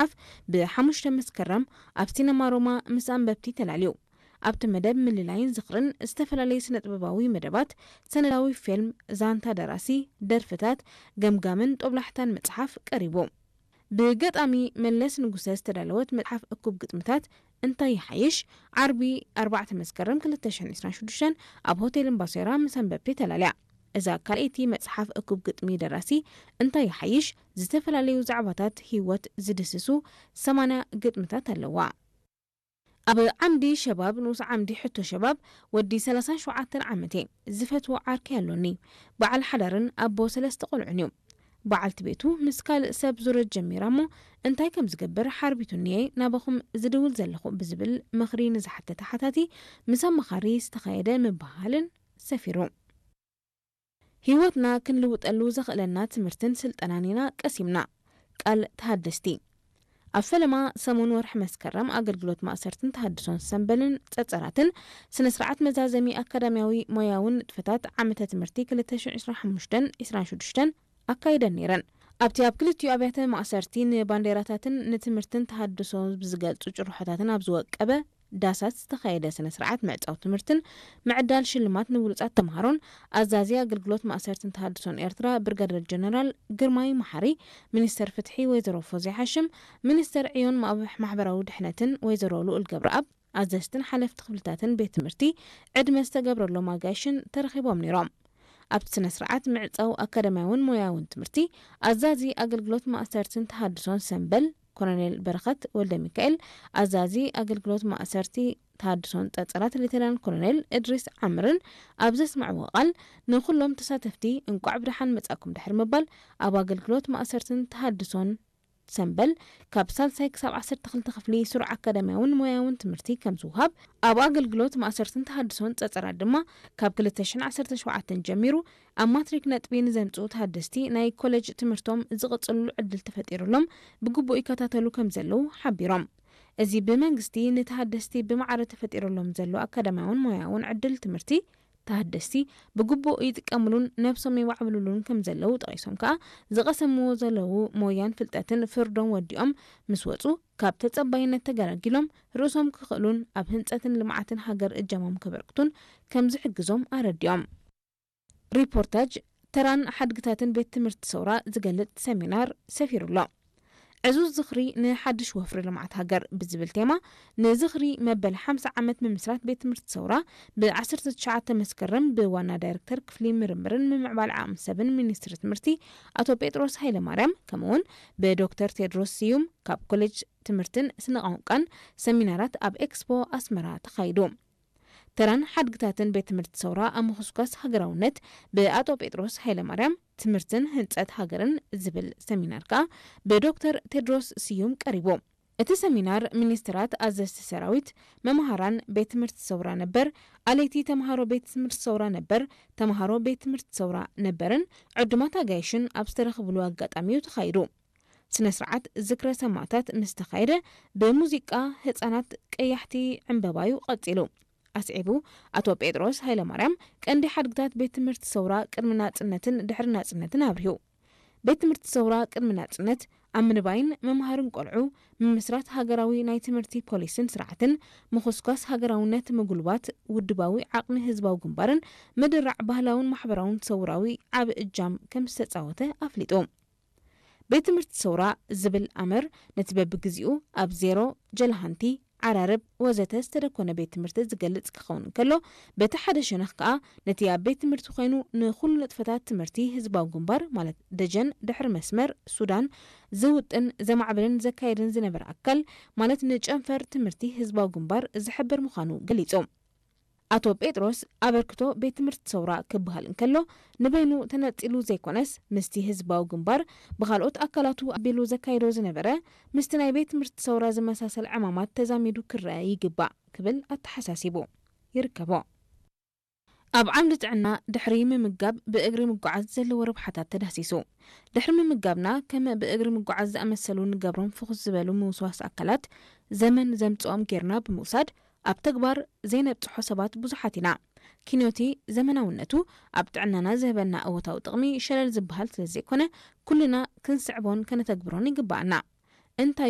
መጽሓፍ ብ5 መስከረም ኣብ ሲነማ ሮማ ምስ ኣንበብቲ ተላልዩ። ኣብቲ መደብ ምልላይን ዝኽርን ዝተፈላለዩ ስነ-ጥበባዊ መደባት፣ ሰነዳዊ ፊልም፣ ዛንታ ደራሲ፣ ደርፍታት፣ ገምጋምን ጦብላሕታን መጽሓፍ ቀሪቡ። ብገጣሚ መለስ ንጉሰ ዝተዳለወት መጽሓፍ እኩብ ግጥምታት እንታይ ይሓይሽ፣ ዓርቢ ኣርባዕተ መስከረም ክልተ ሽሕን ዕስራን ሽዱሽተን ኣብ ሆቴል እምባሴራ ምስ ኣንበብቲ ተላልያ። እዛ ካልኣይቲ መጽሓፍ እኩብ ግጥሚ ደራሲ እንታይ ይሓይሽ፣ ዝተፈላለዩ ዛዕባታት ህይወት ዝድስሱ ሰማንያ ግጥምታት ኣለዋ። ኣብ ዓምዲ ሸባብ፣ ንኡስ ዓምዲ ሕቶ ሸባብ፣ ወዲ ሰላሳን ሸውዓተን ዓመት እየ። ዝፈትዎ ዓርከይ ኣሎኒ። በዓል ሓዳርን ኣቦ ሰለስተ ቆልዑን እዩ። በዓልቲ ቤቱ ምስ ካልእ ሰብ ዙረት ጀሚራ እሞ እንታይ ከም ዝገብር ሓርቢቱኒ እየ ናባኹም ዝድውል ዘለኹ ብዝብል ምኽሪ ንዝሓተተ ሓታቲ ምስ ኣማኻሪ ዝተኻየደ ምብህሃልን ሰፊሩ። ህይወትና ክንልውጠሉ ዘኽእለና ትምህርትን ስልጠናን ኢና ቀሲምና። ቃል ተሃደስቲ። ኣብ ፈለማ ሰሙን ወርሒ መስከረም ኣገልግሎት ማእሰርትን ተሃድሶን ሰምበልን ጸጸራትን ስነ ስርዓት መዛዘሚ ኣካዳሚያዊ ሞያውን ንጥፈታት ዓመተ ትምህርቲ ክልተ ሽሕን ዕስራን ሓሙሽተን ዕስራን ሽዱሽተን ኣካይደን ነይረን። ኣብቲ ኣብ ክልቲኡ ኣብያተ ማእሰርቲ ንባንዴራታትን ንትምህርትን ተሃድሶ ብዝገልጹ ጭርሖታትን ኣብ ዝወቀበ ዳሳት ዝተኻየደ ስነ ስርዓት ምዕጻው ትምህርትን ምዕዳል ሽልማት ንብሉጻት ተምሃሮን ኣዛዚ ኣገልግሎት ማእሰርትን ተሃድሶን ኤርትራ ብርጋደር ጀነራል ግርማይ መሓሪ፣ ሚኒስተር ፍትሒ ወይዘሮ ፎዝያ ሓሽም፣ ሚኒስተር ዕዮን ማእበሕ ማሕበራዊ ድሕነትን ወይዘሮ ልኡል ገብረኣብ፣ ኣዘዝትን ሓለፍቲ ክፍልታትን ቤት ትምህርቲ ዕድመ ዝተገብረሎም ኣጋይሽን ተረኺቦም ነይሮም። ኣብቲ ስነ ስርዓት ምዕጻው ኣካዳሚያውን ሞያውን ትምህርቲ ኣዛዚ ኣገልግሎት ማእሰርትን ተሃድሶን ሰምበል ኮሎኔል በረኸት ወልደ ሚካኤል፣ ኣዛዚ ኣገልግሎት ማእሰርቲ ተሃድሶን ጸጸራት ሌተናል ኮሎኔል እድሪስ ዓምርን ኣብ ዘስምዕዎ ቃል፣ ንኹሎም ተሳተፍቲ እንቋዕ ብደሓን መጻእኩም ድሕሪ ምባል፣ ኣብ ኣገልግሎት ማእሰርትን ተሃድሶን ሰምበል ካብ ሳልሳይ ክሳብ ዓሰርተ ክልተ ክፍሊ ስሩዕ ኣካዳሚያውን ሞያውን ትምህርቲ ከም ዝውሃብ፣ ኣብ ኣገልግሎት ማእሰርትን ተሃድሶን ጸጸራት ድማ ካብ ክልተ ሽሕን ዓሰርተ ሸውዓተን ጀሚሩ ኣብ ማትሪክ ነጥቢ ንዘምጽኡ ተሃደስቲ ናይ ኮለጅ ትምህርቶም ዝቕጽልሉ ዕድል ተፈጢሩሎም ብግቡእ ይከታተሉ ከም ዘለዉ ሓቢሮም። እዚ ብመንግስቲ ንተሃደስቲ ብማዕረ ተፈጢሩሎም ዘሎ ኣካዳሚያውን ሞያውን ዕድል ትምህርቲ ተሃደስቲ ብግቡእ ይጥቀምሉን ነብሶም የማዕብልሉን ከም ዘለዉ ጠቒሶም ከኣ፣ ዝቐሰምዎ ዘለዉ ሞያን ፍልጠትን ፍርዶም ወዲኦም ምስ ወጹ፣ ካብ ተጸባይነት ተገላጊሎም ርእሶም ክኽእሉን ኣብ ህንጸትን ልምዓትን ሃገር እጃሞም ከበርክቱን ከም ዝሕግዞም ኣረዲኦም። ሪፖርታጅ ተራን ሓድግታትን ቤት ትምህርቲ ሰውራ ዝገልጽ ሰሚናር ሰፊሩ ኣሎ። ዕዙዝ ዝኽሪ ንሓድሽ ወፍሪ ልምዓት ሃገር ብዝብል ቴማ፣ ንዝኽሪ መበል ሓምሳ ዓመት ምምስራት ቤት ትምህርቲ ሰውራ ብ ዓሰርተ ትሽዓተ መስከረም ብዋና ዳይሬክተር ክፍሊ ምርምርን ምምዕባል ዓቕሚ ሰብን ሚኒስትሪ ትምህርቲ ኣቶ ጴጥሮስ ሃይለማርያም፣ ከምኡውን ብዶክተር ቴድሮስ ስዩም ካብ ኮሌጅ ትምህርትን ስነ ቋንቋን ሰሚናራት ኣብ ኤክስፖ ኣስመራ ተኻይዱ። ተራን ሓድግታትን ቤት ትምህርቲ ሰውራ ኣብ ምኹስኳስ ሃገራውነት ብኣቶ ጴጥሮስ ሃይለማርያም፣ ትምህርትን ህንጸት ሃገርን ዝብል ሰሚናር ከኣ ብዶክተር ቴድሮስ ስዩም ቀሪቡ። እቲ ሰሚናር ሚኒስትራት፣ ኣዘዝቲ ሰራዊት፣ መምሃራን፣ ቤት ትምህርቲ ሰውራ ነበር፣ ኣለይቲ ተምሃሮ ቤት ትምህርቲ ሰውራ ነበር፣ ተምሃሮ ቤት ትምህርቲ ሰውራ ነበርን ዕዱማት ኣጋይሽን ኣብ ዝተረኽብሉ ኣጋጣሚ እዩ ተኻይዱ። ስነ ስርዓት ዝክረ ሰማእታት ምስ ተኻየደ፣ ብሙዚቃ ህጻናት ቀያሕቲ ዕምበባዩ ቀጺሉ። ኣስዒቡ፣ ኣቶ ጴጥሮስ ሃይለማርያም፣ ቀንዲ ሓድግታት ቤት ትምህርቲ ሰውራ ቅድሚ ናጽነትን ድሕሪ ናጽነትን ኣብሪሁ። ቤት ትምህርቲ ሰውራ ቅድሚ ናጽነት፣ ኣብ ምንባይን ምምሃርን ቆልዑ፣ ምምስራት ሃገራዊ ናይ ትምህርቲ ፖሊስን ስርዓትን፣ ምኹስኳስ ሃገራውነት፣ ምጉልባት ውድባዊ ዓቕሚ ህዝባዊ ግንባርን ምድራዕ ባህላውን ማሕበራውን ሰውራዊ ዓቢ እጃም ከም ዝተጻወተ ኣፍሊጡ። ቤት ትምህርቲ ሰውራ ዝብል ኣምር ነቲ በብግዜኡ ኣብ ዜሮ፣ ጀልሃንቲ፣ ዓራርብ ወዘተ ዝተደኮነ ቤት ትምህርቲ ዝገልጽ ክኸውን እንከሎ፣ በቲ ሓደ ሸነኽ ከኣ ነቲ ኣብ ቤት ትምህርቲ ኮይኑ ንኹሉ ንጥፈታት ትምህርቲ ህዝባዊ ግንባር፣ ማለት ደጀን ድሕሪ መስመር ሱዳን፣ ዝውጥን ዘማዕብልን ዘካየድን ዝነበረ ኣካል፣ ማለት ንጨንፈር ትምህርቲ ህዝባዊ ግንባር ዝሕብር ምዃኑ ገሊጹ። ኣቶ ጴጥሮስ፣ ኣበርክቶ ቤት ትምህርቲ ሰውራ ክበሃል እንከሎ፣ ንበይኑ ተነጺሉ ዘይኮነስ፣ ምስቲ ህዝባዊ ግንባር ብኻልኦት ኣካላቱ ኣቢሉ ዘካይዶ ዝነበረ፣ ምስቲ ናይ ቤት ትምህርቲ ሰውራ ዝመሳሰል ዕማማት ተዛሚዱ ክረአ ይግባእ ክብል ኣተሓሳሲቡ ይርከቦ። ኣብ ዓምዲ ጥዕና፣ ድሕሪ ምምጋብ ብእግሪ ምጓዓዝ ዘለዎ ረብሓታት ተዳህሲሱ። ድሕሪ ምምጋብና፣ ከም ብእግሪ ምጓዓዝ ዝኣመሰሉ ንገብሮም ፍኹስ ዝበሉ ምውስዋስ ኣካላት፣ ዘመን ዘምጽኦም ጌርና ብምውሳድ፣ ኣብ ተግባር ዘይነብጽሖ ሰባት ብዙሓት ኢና። ኪንዮቲ ዘመናውነቱ ኣብ ጥዕናና ዝህበና እወታዊ ጥቕሚ ሸለል ዝበሃል ስለ ዘይኮነ፣ ኩልና ክንስዕቦን ከነተግብሮን ይግባኣና። እንታይ